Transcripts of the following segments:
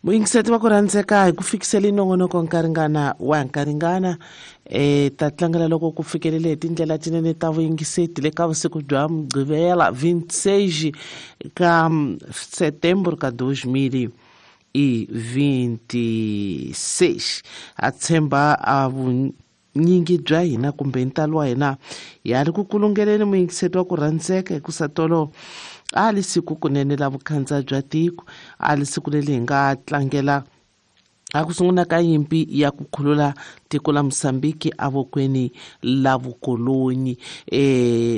Muyingiseti va ku rhandzeka hi ku fikiseli nongonoko nkaringana wa nkaringana ta tlangela loko ku fikelele hi tindlela tinene ta vuyingiseti le ka vusiku bya mugqivela 26 ka setembro ka 2026. A tshemba a vunyingi bya hina kumbe ntalo wa hina ya ri ku kulungeleni muyingiseti wa ku rhandzeka hikusa tolo a li siku kunene la vukhandza bya tiko, a li siku leri hi nga tlangela a ku sungula ka nyimpi ya ku khulula tiko la Mozambique evokweni la vukolonyi.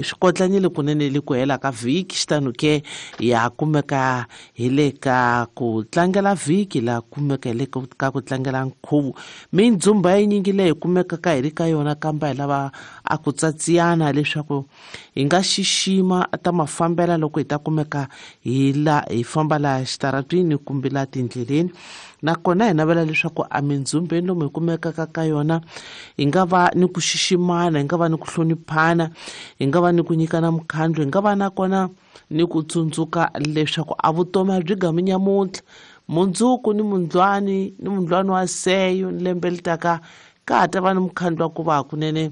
Swi kotlanyile kunene le ku hela ka vhiki, xitano ke ya kumeka hi le ka ku tlangela vhiki, la kumeka hi le ka ku tlangela nkhuvo. Mindzumba yinyingi leyi kumekaka hi ri ka yona, kambe hi lava a ku tsatsiyana leswaku hi nga xixima ta mafambela loko hi ta kumeka hi la hi famba laha xitaratwini kumbe laha tindleleni. Nakona hi navela leswaku a mindzhumbeni lomu hi kumekaka ka yona hi nga va ni ku xiximana, hi nga va ni ku hloniphana, hi nga va ni ku nyikana mukhandlu, hi nga va nakona ni ku tsundzuka leswaku a vutomi a byi gami nyamuntlha, mundzuku ni mundlwani ni mundlwani wa seyo ni lembe li taka ka ha ta va ni mukhandlu wa ku va hakunene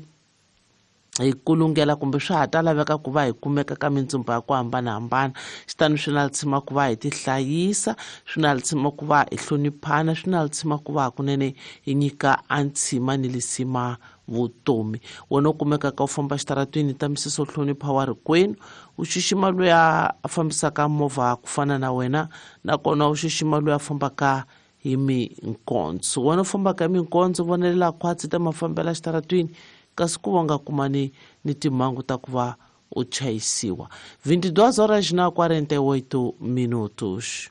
hi kulungela kumbe swa ha ta laveka ku va hi kumeka ka mindzumba ya ku hambanahambana. Xitani swi na litshima ku va hi tihlayisa, swi na litshima ku va hi hloniphana, swi na litshima ku va hakunene hi nyika a ntshima ni lisima vutomi. Wena u kumekaka u famba xitaratwini ta misisi u hlonipha wa rikwenu, u xixima loyi a fambisaka movha ku fana na wena, nakona u xixima loyi a fambaka hi minkondzo. Wena u fambaka hi minkondzo, vonelela khwatsi ta mafambela xitaratwini, kasi ku va nga kumani ni timhangu ta ku va u chayisiwa. 22 horas na 48 minutos.